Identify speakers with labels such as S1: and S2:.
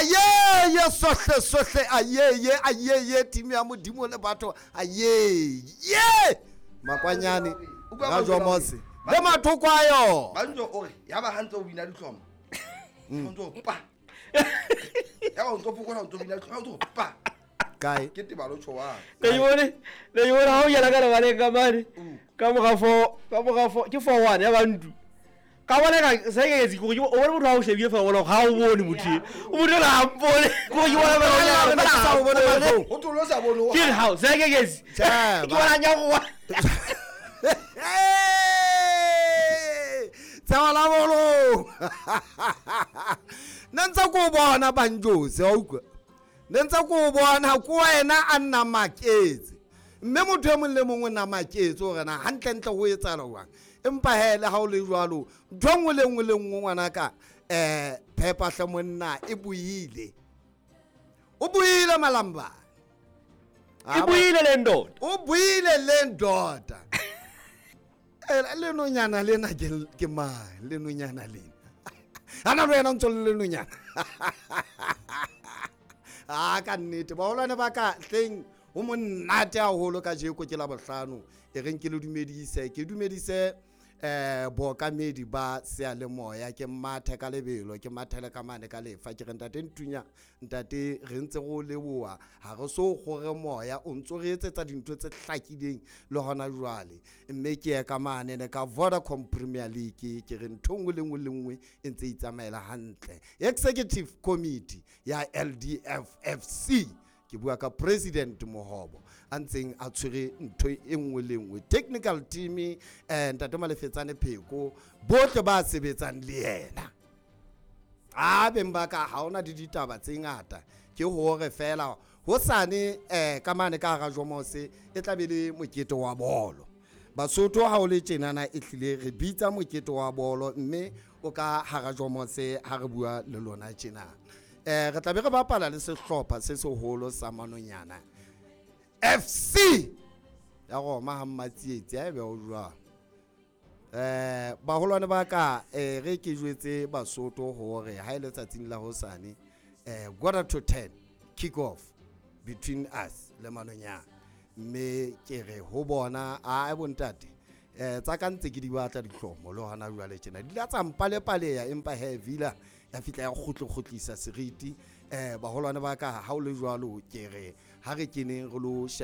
S1: Ayeye sohle sohle, ayeye ayeye, team ya Modimo le batho, ayeye makwanyane ga Jomose le mathoko a yona.
S2: Banjo o re ya ba hantse o bina ditlhomo, o ntso pa ya ba o ntso fokola, o ntso bina ditlhomo, o ntso pa
S1: kae
S2: ke tebalo tshowa.
S3: Ne ke bone, ne ke bone ha o kena ka lebaleng ka mane ka moga four, ka moga four ke 4-1 ya bantu ka bona ka se ke etsi gore o bone motho ha o shebile fa o bona ga o bone motho e. O motho la ha mpone gore ke bona
S1: Fela,
S3: fela
S1: ke sa o bone mahlong.
S2: O tlo sa bone o
S3: ke re hao se ke etsi
S1: Tjhe,
S3: ke
S1: ba-
S3: bona nya go
S1: Hey! Tseba la bolong. Nne ntse ko o bona Banjose, wa utlwa? Ne ntse ko o bona ko wena a nna maketse. Mme motho e mong le mongwe o nna maketse hore na hantlentle ho etsahala jwang. Empa he le ha o le jwalo, ntho e nngwe le nngwe le nngwe ngwanaka, phepa hle monna e buile. O buile malamba.
S3: E buile le ndoda.
S1: O buile le ndoda. Lenonyana lena ke mang? Lenonyana lena. Ana le wena o ntso le lenonyana. Ah, ka nnete baholwane ba ka hleng ho monate haholo kajeko ke la bohlano. E reng ke le dumedise, ke dumedise bookamedi ba seyalemoya, ke mathe ka lebelo, ke mathele ka mane ka lefa, ke re ntate Ntunya, ntate re ntse re o leboha, ha re so kgore moya, o ntso re etsetsa dintho tse hlakileng le hona jwale. Mme ke ye ka mane ne ka Vodacom Premier League, ke re ntho nngwe le nngwe le nngwe e ntse e itsamaela hantle. Executive Committee ya LDFFC, ke bua ka President Mohobo a ntseng a tshwere ntho e nngwe le nngwe, technical team, ntate Malefetsane Pheko, bohle ba sebetsang le yena. A beng ba ka ha hona le ditaba tse ngata, ke hore fela hosane ka mane ka hara Jomose e tla be le mokete wa bolo. Basotho ha o le tjenana e hlile re bitsa mokete wa bolo, mme o ka hara Jomose ha re bua le lona tjena. Re tla be re bapala le sehlopha se seholo sa Manonyana FC ya Roma ha Mmatsietsi, ha ebe o jwang. Baholwane ba ka, re ke jwetse Basotho hore ha e le tsatsing la hosane, 9:45 kick off between us le Manonyana. Mme ke re ho bona, a bontate, tsa ka ntse ke di batla dihlomo le hona jwale tjena. Di la tsa mpalepaleya, empa he Villa ya fihla ya kgutlo-kgutlisa seriti. Baholwane ba ka, ha o le jwalo ke re ha re keneng re lo sheba